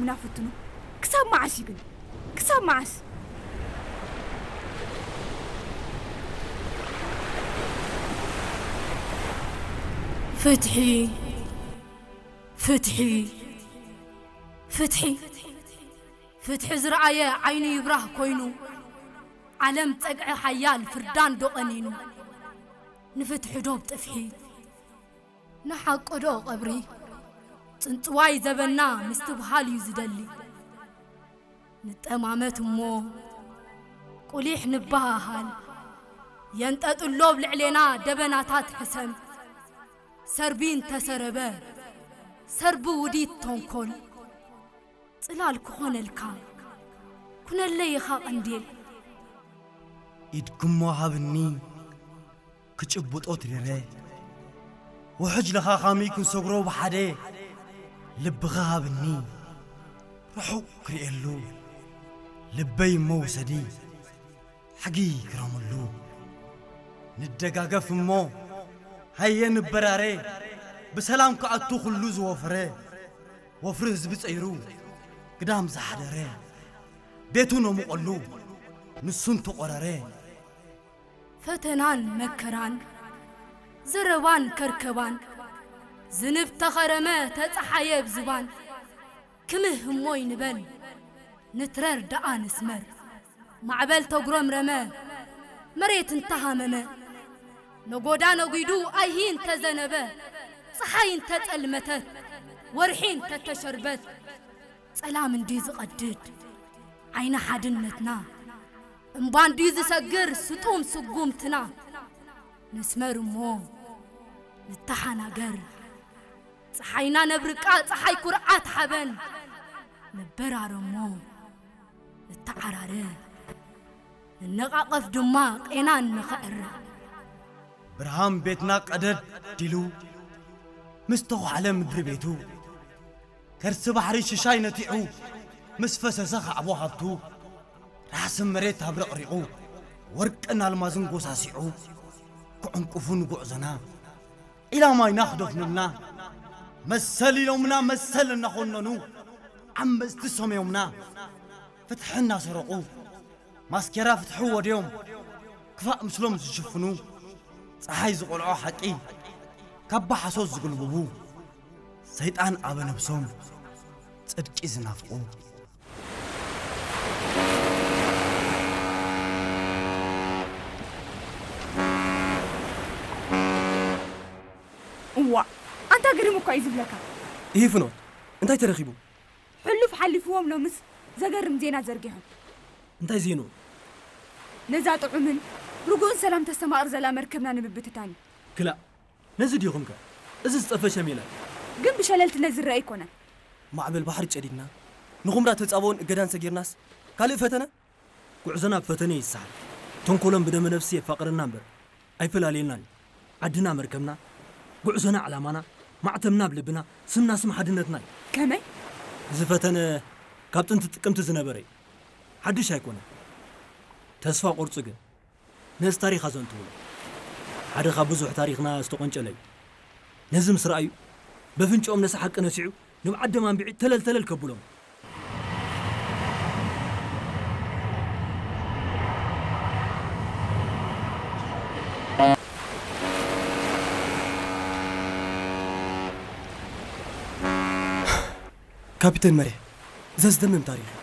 ምና ፍትኑ። ክሳብ መዓስ እዩ ግን? ክሳብ መዓስ? ፍትሒ፣ ፍትሒ፣ ፍትሒ። ፍትሒ ዝረኣየ ዓይኑ ይብራህ ኮይኑ፣ ዓለም ጸግዒ ሓያል ፍርዳን ዶ ቀኒኑ? ንፍትሒ ዶብ ጥፍሒ፣ ንሓቂ ዶ ቀብሪ? ጽንጽዋይ ዘበና ምስትብሃል እዩ ዝደሊ። ንጠማመት እሞ ቁሊሕ ንበሃሃል። የንጠጥሎ ኣብ ልዕሌና ደበናታት ሕሰም። ሰርቢ እንተሰረበ፣ ሰርቢ ውዲት ተንኮል። ጽላል ክኾነልካ፣ ኩነለይ ኢኻ ቀንዴል። ኢድክሞ ሃብኒ፣ ክጭብጦ ትደረ። ውሕጅ ለኻኻሚ ክንሰግሮ ብሓደ። ልብኻ ሃብኒ፣ ርሑቕ ክርእየሉ። ልበይ እሞ ውሰዲ፣ ሕጊ ክረምሉ። ንደጋገፍ እሞ፣ ሃየ ንበራረ። ብሰላም ክኣቱ ኩሉ ዝወፈረ። ወፍሪ ህዝቢ ጸይሩ፣ ግዳም ዝሓደረ። ቤቱ ነሙቐሉ፣ ንሱን ተቖረረ። ፈተናን መከራን፣ ዘረባን ከርከባን፣ ዝንብ ተኸረመ ተጸሓየ ብዝባን። ክምህ እሞ ይንበል፣ ንትረር ደኣ ንስመር። ማዕበል ተጉረምረመ፣ መሬት እንተሃመመ፣ ነጎዳ ነጒዱ ኣይሂ እንተዘነበ፣ ጸሓይ እንተጸልመተት፣ ወርሒ እንተተሸርበት፣ ጸላም እንዲ ዝቐድድ ዓይኒ ሓድነትና፣ እምባ እንዲ ዝሰግር ስጡም ስጉምትና፣ ንስመር እሞ ንተሓናገር። ጸሓይና ነብርቃ፣ ጸሓይ ኩርዓት ሓበን፣ ንበራረ እሞ ንተዓራረ። ንነቓቐፍ ድማ ቄናን ንኽዕረ። ብርሃን ቤትና ቀደድ ዲሉ፣ ምስ ተዃዕለ ምድሪ ቤቱ፣ ከርሲ ባሕሪ ሽሻይ ነቲዑ፣ ምስ ፈሰሰ ካዕቦ ሃብቱ፣ ራሕሲ መሬት ኣብረቕሪቑ፣ ወርቅን ኣልማዝን ጎሳሲዑ፣ ክዕንቁፉ ንጉዕዞና፣ ዒላማ ኢና ክደፍኑልና። መሰል ኢሎምና መሰል እናኾነኑ፣ ዓመጽቲ ሰምዮምና፣ ፍትሒ እናሰረቑ፣ ማስኬራ ፍትሒ ወድዮም፣ ክፋእ ምስሎም ዝሽፍኑ፣ ጸሓይ ዝቖልዖ ሓቂ፣ ካባ ሓሶት ዝጉልብቡ፣ ሰይጣን ኣበ ነብሶም፣ ጽድቂ ዝናፍቑ። እዋእ፣ ኣንታ ግርም እኳ እዩ ዝብለካ። ይህ ፍኖት፣ እንታይ ተረኺቡ? ሕሉፍ ሓሊፍዎም ሎምስ ዘገርም ዜና ዘርጊሖም። እንታይ ዜንኡ? ነዛ ጥዑምን ርጉእን ሰላም ተስተማቕር ዘላ መርከብና ንምብትታን እዩ። ክላእ፣ ነዚ ዲኹምከ? እዚ ዝጠፈሸ ሜላ እዩ። ግን ብሸለልትነት ዝረአ ኣይኮነን። ማዕበል ባሕሪ ጨዲድና፣ ንኹምራ ተጻብኦን እገዳን ሰጊርናስ ካልእ ፈተነ? ጉዕዞና ብፈተነ ይሰሓል። ተንኮሎም ብደመ ነፍሲ የፋቕረና እምበር ኣይፈላልየናን እዩ። ዓድና መርከብና፣ ጉዕዞና ዕላማና፣ ማዕተምና ኣብ ልብና፣ ስምና ስም ሓድነትና እዩ። ከመይ? እዚ ፈተነ ካብ ጥንቲ ጥቅምቲ ዝነበረ እዩ። ሓድሽ ኣይኮነን። ተስፋ ቆርጹ ግን ነዚ ታሪኽ ኣዘንትውሎ። ሓደ ካብ ብዙሕ ታሪኽና ዝተቆንጨለ እዩ። ነዚ ምስ ረኣዩ፣ በፍንጭኦም ነዚ ሓቂ ነሲዑ፣ ንብዓት ደም ኣንቢዒ ተለል ተለል ከብሎም። ካፒተን መሬ፣ ዘዝደምም ታሪኽ እዩ።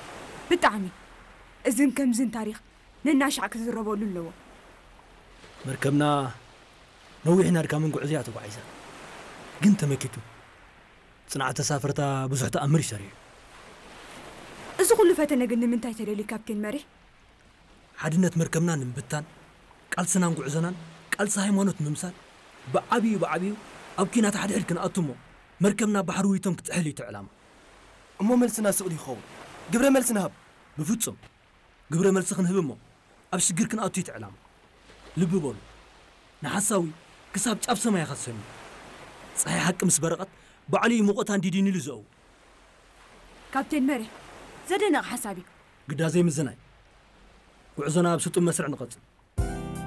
ብጣዕሚ። እዝን ከምዝን ታሪኽ ነናሻዕ ክዝረበሉ ኣለዎ። መርከብና ነዊሕን ኣድካምን ጉዕዞ እያ ተጓዒዛ። ግን ተመኪቱ። ጽንዓት ተሳፈርታ ብዙሕ ተኣምር እዩ ሰሪሑ። እዚ ኩሉ ፈተነ ግን ንምንታይ ተደልዩ ካፕቴን መሬ? ሓድነት መርከብና ንምብታን፣ ቃልስናን ጉዕዞናን ቃልሲ ሃይማኖት ምምሳል፣ ብዓብዩ ብዓብዩ ኣብ ኲናት ሓድሕድ ክንኣቱ እሞ መርከብና ባሕሪ ውይቶም ክትጥሕል እዩ እቲ ዕላማ። እሞ መልስና ስቕ ድዩ ክኸውን? ግብረ መልሲ ንሃብ። ብፍጹም። ግብረ መልሲ ክንህብ እሞ ኣብ ሽግር ክንኣቱ እዩ እቲ ዕላማ። ልቢ በሉ። ንሓሳዊ ክሳብ ጫፍ ሰማይ ኢኻ ትሰምዮ። ጸሓይ ሓቂ ምስ በረቐት ባዕሉ እዩ ሙቐታ እንዲዲን ኢሉ ዘእው። ካፕቴን መሬ፣ ዘደንቕ ሓሳብ እዩ። ግዳ ዘይምዝናይ። ጉዕዞና ኣብ ስጡም መስርዕ ንቐጽል።